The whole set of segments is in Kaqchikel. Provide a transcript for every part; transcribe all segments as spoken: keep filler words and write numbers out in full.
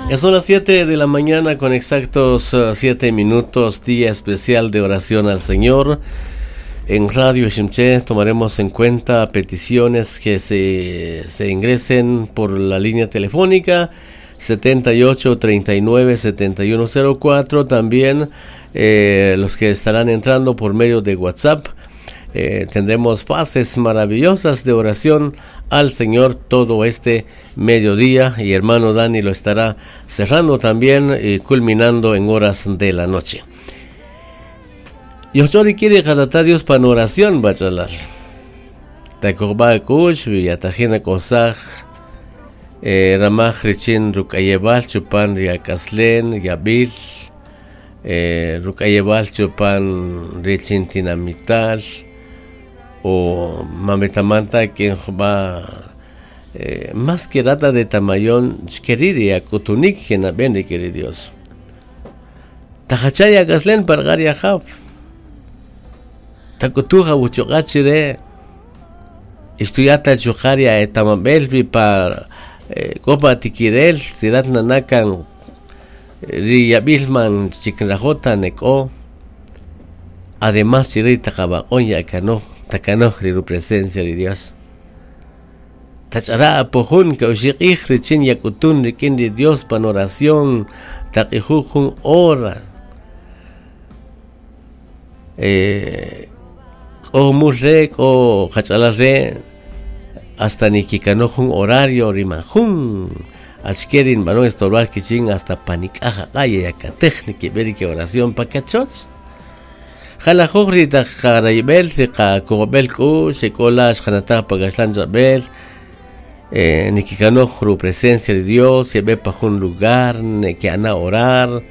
Ya son las siete de la mañana con exactos siete minutos, día especial de oración al Señor. En Radio Iximché tomaremos en cuenta peticiones que se, se ingresen por la línea telefónica setenta y ocho treinta y nueve setenta y uno cero cuatro. También eh, los que estarán entrando por medio de WhatsApp. Eh, tendremos fases maravillosas de oración al Señor todo este mediodía, y hermano Dani lo estará cerrando también y culminando en horas de la noche. Yochori quiere jatata Dios pan oración, bachalar. Takoba kush, villatajina kosaj, eh, ramaj richin rukayebal chupan riakaslen, yabil, eh, rukayebal chupan richin tinamital, o mametamanta quien va eh, más que rata de tamayón queridia kutunik genaben querido Dios. Tajachaya gaslen pargaria jaf. Takutuja buchogachire estuyata chujaria etamabelbi par eh, copa tikirel sirat nanakan riyabilman chikinrajota neko. Además chirita jabaonya kano takanoj ru presencia de Dios. Tachara pojun que oshiqij richin yakutun rikin de Dios pan oración taqijujun hora. Eh o murrek o hachalarre hasta nikikanojun horario rimajun achkerin mano estorbar kichin hasta panikaja kaya yakatej nikiberi oración pakachoch. Jalajogri tajaraibel, rica cobel ku, secolas, janatá pagaslan zabel, eh, nikikanojru presencia de Dios, se ve pa un lugar, ne que ana orar,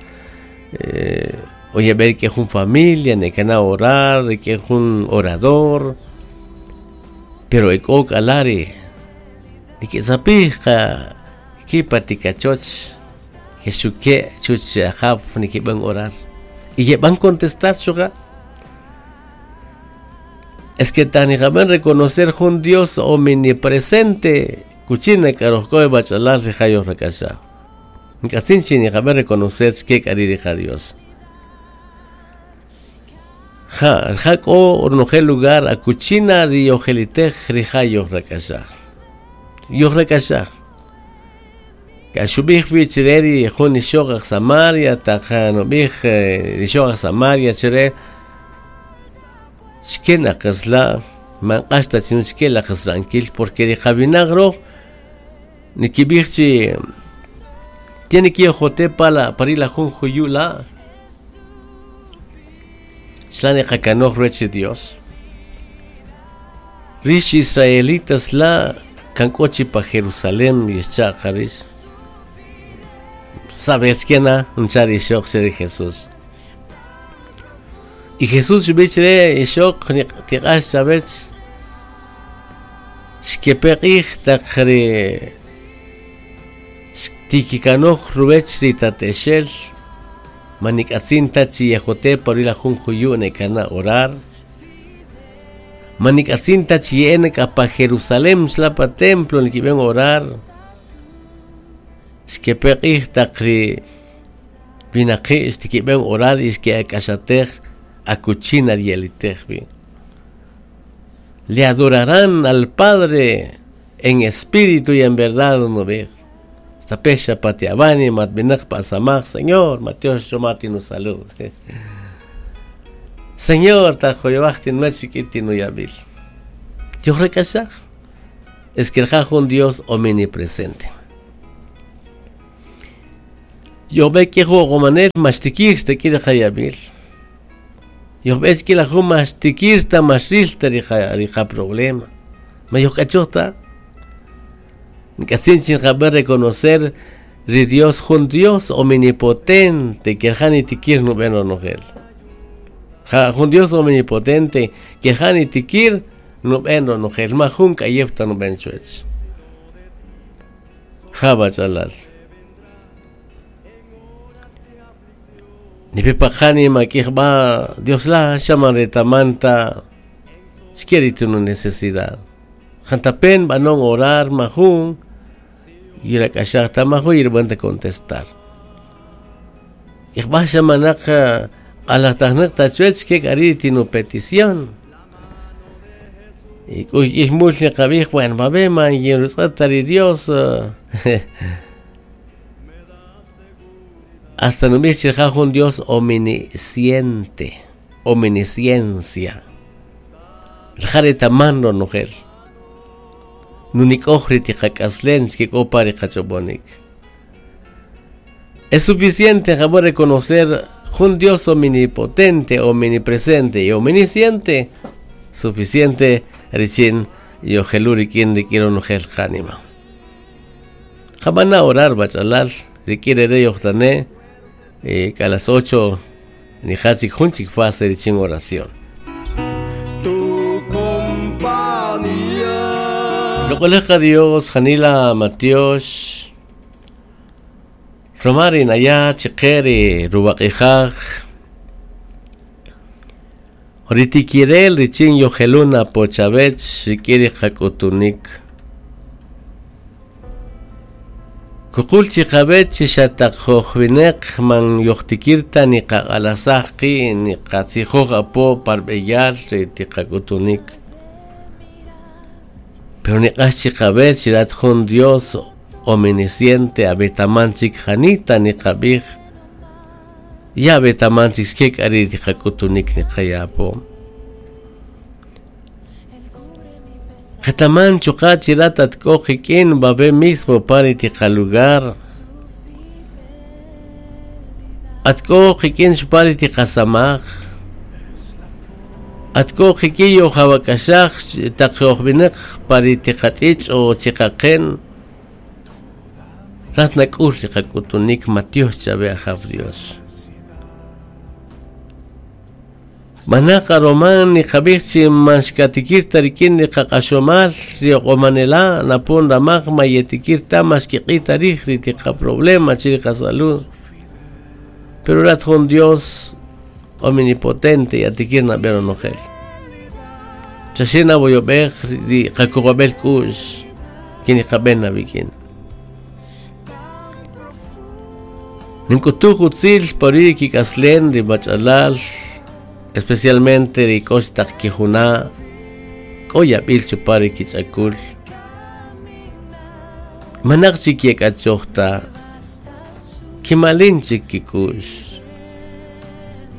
eh, oye ver que es un familia, ne que ana orar, que es un orador, pero ekok alari, ni que zapija, kipatikachoch, Jesuque, chuch, jaf, ni que van orar. Y que van contestar, chuga. Es que tan y reconocer un Dios omnipresente, cuchina caroscoe bachalar rijayo rakasha. Nkasinchi ni jaben reconocer que caririja Dios. Ja, jaco ornoje lugar a cuchina riojelitej rijayo rakasha. Yo rakasha. Kashubij bichireri jun ishogaj Samaria, tajanubij ishogaj Samaria chire. Shkena qasla manqashta chinuchkela qasrankil porque de Javinagro nikibirchi tiene que jote pala parila junjuyula shlane qakanoj reche Dios rish israelitas la kankochi pa Jerusalén yischa qarish sabes quién unchari shok ser Jesús. Y Jesús bichre ishok tiqash sabes shkepeqij taqri tikikanoj rubech ritateshel manik'atzinta chiyajote por ir a junjuyu nekana orar manik'atzinta chiyenek pa Jerusalén xlapa templo nikiben orar xkepeqij taqri binaqi xtikiben orar ixkeak'axatej acuchina rielitejbi. Le adorarán al Padre en espíritu y en verdad, no ve. Esta pecha patiabani, matbenach pasamach, Señor, Mateo Shomati nos salud. Señor, tajoyabachti no es chiquitino yabil. Yo recachaj. Es que el un Dios omnipresente. Yo ve que juego mastikir te quiere jayabil. Yo ves que la juma tikirta masilta rija rija problema. Ma yo cachota. Ncasinchi jaber reconocer ri Dios jun Dios omnipotente que jani tikir no ben onogel. Ja jun Dios omnipotente que jani tikir no ben onogel. Ma jun kayefta no ben chuech. Jaba chalal. Ni pepajani maquijba Dios la llama retamanta siquiera una necesidad. Jantapen banon orar majun Yirak'axaj tamajo yirb'an ta contestar. Ixb'axa manaq q'alajtajnaq tachuech ke k'ari tinu petición. Y k'uy ixmul niqab'ij bueno babé man yinrutz'at Dios. Hasta nub'ij chirja jun Dios omnisciente, omnisciencia. Rja retaman ronojel. Nunik'oj ri tiqak'aslen xkik'o pa ri qach'ob'onik. Es suficiente jabón reconocer un Dios omnipotente, omnipresente y omnisciente. Suficiente richin yojeluri kin rikiro nojel qanima. Jabana orar bachalal rikire re yohtane eh, a las ocho ni hachik junchik fase richin oración. Tu compañía. Lokoleja Dios Janila Matiosh Romari naya chiqeri ruwaqijaj Ritikirel richin yojeluna pochavech xikiri qak'utunik. Kuqul chiqabech xataqjojwineq man yoqtikirta ni qaq'alasajqi ni qatzijoj apo parb'eyal ritiqak'utunik. Pero ni q'ax chiqabech rat jun Dios omnisciente abetaman chik janita ni qab'ij ya betaman chik xkek ari tiqak'utunik ni qayapo. Qetaman chuqa chirat atk'o qik'in babé mismo pari tiqalugar. Atk'o qik'in chupari tiqasamaj. Atk'o qikiyo jawak'axaj taqjojb'ineq pari tiqach'ich o chiqaqen. Rat nak'ul riqak'utunik Matios chabe ajaw Dios. Manaqa roman ni qab'ij maxkatikirta rikin ni qaq'axomal rioq'omanela napon ramaj mayetikirta maxkiq'ita rij ritiqa problema chiriqa salud. Pero rat jun Dios omnipotente y atikirna bero nojel. Chashina boyob'ej ri qakuqab'el k'u'x kiniqab'en nabikin. Ninkutuj utzil pori kik'aslen ribach'alal especialmente ri k'ox taq kijuna k'o yab'il chupari kich'akul. Manaq chik yek'achojta kimalin chik kik'u'x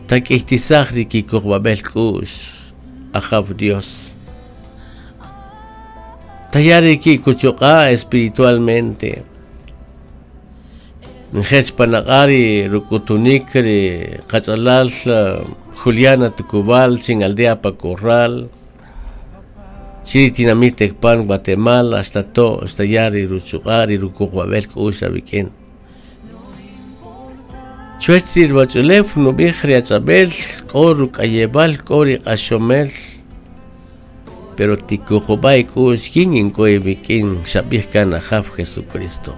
tak'ijtisaj ri kikuqb'ab'el k'u'x ajaw Dios. Tayari kikuchuq'a espiritualmente. Njech panaq'ari rukutunik ri qach'alal Juliana Tucubal, chin aldea Pacorral, Chiri Tinamit Tecpan, Guatemala, hasta to, hasta yari ruchuqari rukuqb'ab'el k'u'x abikin. Chuech ri nub'ij ri ach'ab'el k'o ruk'ayeb'al k'o ri q'axomel pero tikuqub'ay k'u'x kin ink'o ibikin xab'ij kan ajaw Jesucristo.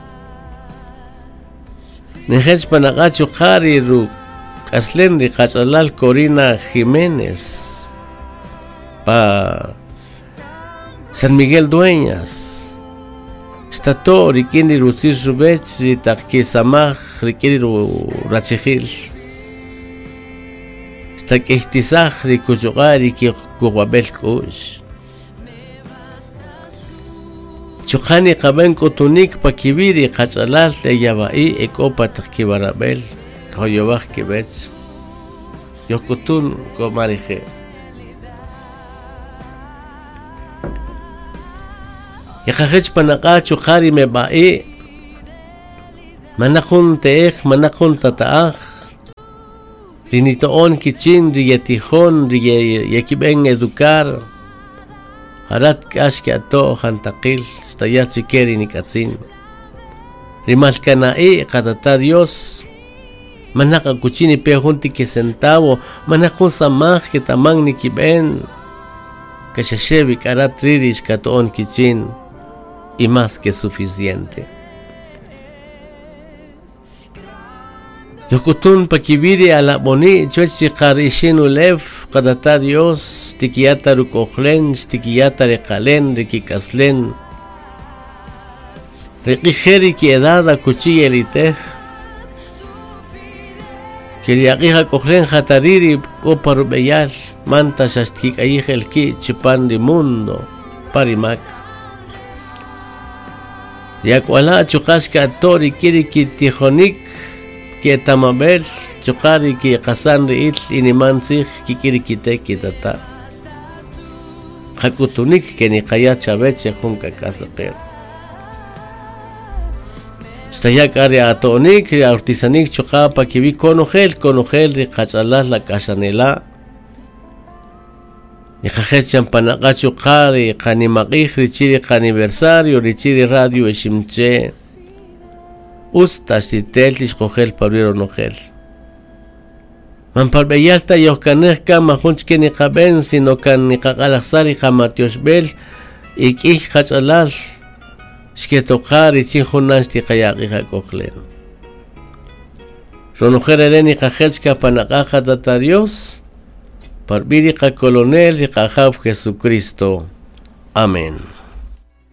Nejech panaq'a chuqari ru k'aslen ri qach'alal Corina Jiménez pa San Miguel Dueñas Estato rikin ri rutzir rubech ri taq kisamaj rikin ri rachijil Esta k'ijtisaj ri kuchuq'a ri kikuqb'ab'el k'u'x. Chuqani qab'en k'utunik pa kib'i ri qach'alal eyaba'i ek'o pa taq kibarab'el toyob'aj kib'ech yojk'utun k'omarije. Yaqajech panaq'a chuqari meb'a'i manaq jun te'ej manaq jun tata'aj rinito'on kichin ri yetijon ri yekib'en educar harat k'ax ki'ato' jantaqil xtaya chikeri nik'atzin rimalkana'i qatata Dios manaq akuchini pe jun tikisentavo manaq jun samaj kitaman nikib'en kaxaxebi k'arat rirish kato'on kichin y más que suficiente. Yokutun pakibiri ala boni chuech chiqarixin ulew qatata Dios tikiyata ruk'ojlen tikiyata riqalen rikik'aslen Ri q'ij ri ki edad akuchi yelitej ke ri aq'ij ak'ojlen jatariri k'o pa rub'eyal manta xa xtkik'ayij el ki' chipan ri mundo pa ri mak. Ri ak'wala' chuqa' xka'to' rik'in ri kitijonik ke'etamab'el chuqa' ri kiqasan ri'il iniman tzij kik'in ri kite' kitata'. Qak'utunik ke niqaya' chawech jun k'ak'a' Xtaya' k'a ri ato'nik ri awrtisanik chuqa' pa kiwi' konojel konojel ri qach'alal ak'axanela' niqajech yan panaq'a' chuqa' ri qanimaq'ij richin ri qaniversario richin ri radio Iximche' utz ta xtitel ixqojel pa ruwi' ronojel. Man parb'eyal ta yojkanej kan majun chike niqab'en sino kan niqaq'alajsaj ri qamatyoxb'el y k'ij qach'alal xketoqa richin junan xtiqaya' aq'ij ak'ojlen. Ronojel re' niqajech ka panaq'a' qatata Dios parb'i' ri qacolonel ri qajaw Jesucristo. Amén.